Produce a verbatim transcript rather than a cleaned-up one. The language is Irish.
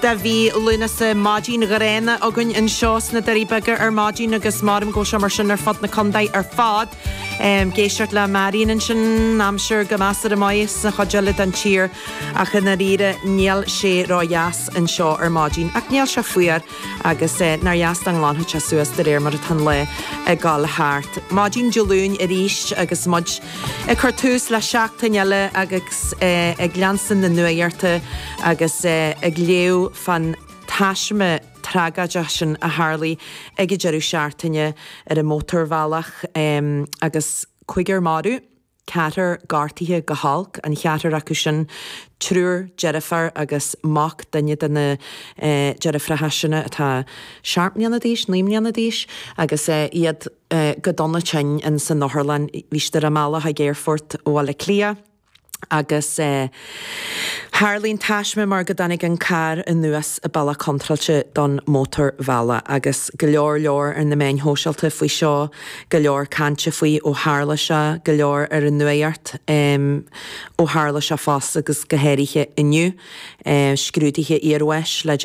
de mhí Lúnasa maidin ghránna againn anseo sna Doirí Beaga ar maidin agus maram go seo mar sin ar fud na contae ar fad. Um, ag éisteacht le Marion ansin aimsir go measartha maith sa chuid eile den tír ach i ndáiríre níl sé ródheas anseo ar maidin ach níl sé fuar agus eh, nár dheas dá nglanfadh sé suas de réir mar atá an lá ag dul thart. Maidin Dé Luain arís agus muid ag cur tús le seachtain eile agus eh, ag leanstan na nuachta agus eh, ag léamh fán taisme tragóideach sin a tharla ag an deireadh seachtaine ar an mótarbhealach um, agus cúigear marbh. Ceathrar gortaithe go holc an ceathrar acu sin triúr deirfiúr agus mac duine de na eh, deirfiúracha sin atá seacht mbliana d'aois, naoi mbliana d'aois agus eh, iad eh, go dona tinn in san otharlann bhí siad ar a mbealach ag aerfort Bhaile Átha Cliath. agus eh, tharla an taisme mar go dtáinig an carr anuas i bealach contráilte don mótarbhealach agus go leor leor ar na meáin shóisialta faoi seo, go leor cainte faoi ó tharla sé, go leor ar an nuacht um, ó tharla sé fosta agus go háirithe inniu, eh, scrúduithe iarbháis le